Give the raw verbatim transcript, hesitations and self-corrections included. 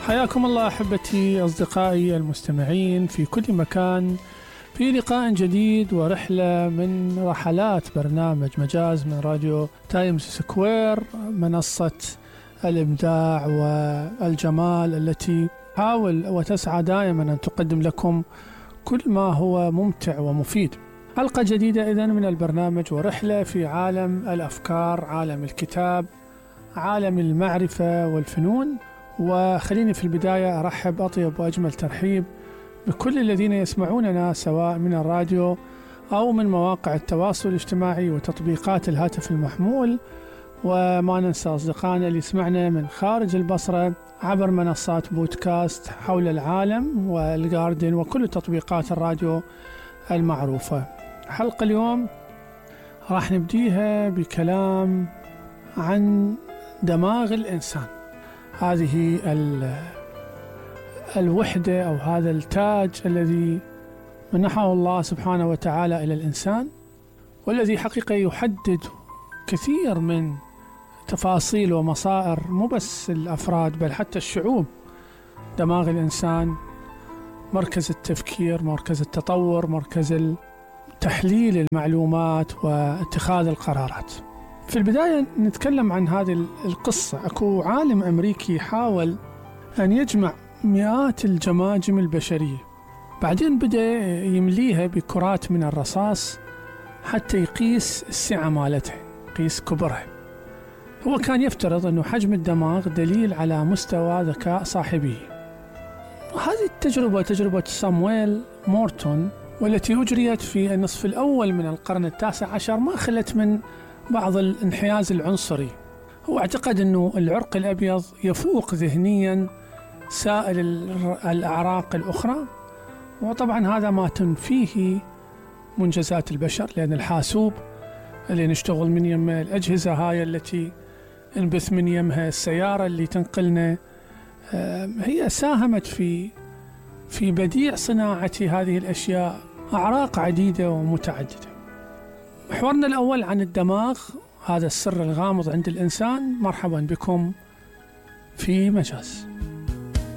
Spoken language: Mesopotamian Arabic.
حياكم الله أحبتي أصدقائي المستمعين في كل مكان، في لقاء جديد ورحلة من رحلات برنامج مجاز من راديو تايمز سكوير، منصة الإبداع والجمال التي تحاول وتسعى دائما أن تقدم لكم كل ما هو ممتع ومفيد. حلقة جديدة إذن من البرنامج ورحلة في عالم الأفكار، عالم الكتاب، عالم المعرفة والفنون. وخليني في البداية أرحب أطيب وأجمل ترحيب بكل الذين يسمعوننا سواء من الراديو أو من مواقع التواصل الاجتماعي وتطبيقات الهاتف المحمول، وما ننسى أصدقائنا اللي يسمعنا من خارج البصرة عبر منصات بودكاست حول العالم والجاردن وكل تطبيقات الراديو المعروفة. حلقة اليوم راح نبديها بكلام عن دماغ الإنسان، هذه الوحدة أو هذا التاج الذي منحه الله سبحانه وتعالى إلى الإنسان، والذي حقيقة يحدد كثير من تفاصيل ومصائر مو بس الأفراد بل حتى الشعوب. دماغ الإنسان مركز التفكير، مركز التطور، مركز تحليل المعلومات واتخاذ القرارات. في البداية نتكلم عن هذه القصة. أكو عالم أمريكي حاول أن يجمع مئات الجماجم البشرية، بعدين بدأ يمليها بكرات من الرصاص حتى يقيس السعة مالتها، يقيس كبرها. هو كان يفترض أنه حجم الدماغ دليل على مستوى ذكاء صاحبه. هذه التجربة تجربة سامويل مورتون، والتي أجريت في النصف الأول من القرن التاسع عشر، ما خلت من بعض الانحياز العنصري. هو اعتقد أنه العرق الأبيض يفوق ذهنيا سائر الأعراق الأخرى، وطبعا هذا ما تنفيه منجزات البشر، لأن الحاسوب اللي نشتغل من يمه، الأجهزة هاي التي نبث من يمها، السيارة اللي تنقلنا، هي ساهمت في في بديع صناعة هذه الأشياء، أعراق عديدة ومتعددة. محورنا الأول عن الدماغ، هذا السر الغامض عند الإنسان. مرحبا بكم في مجاز.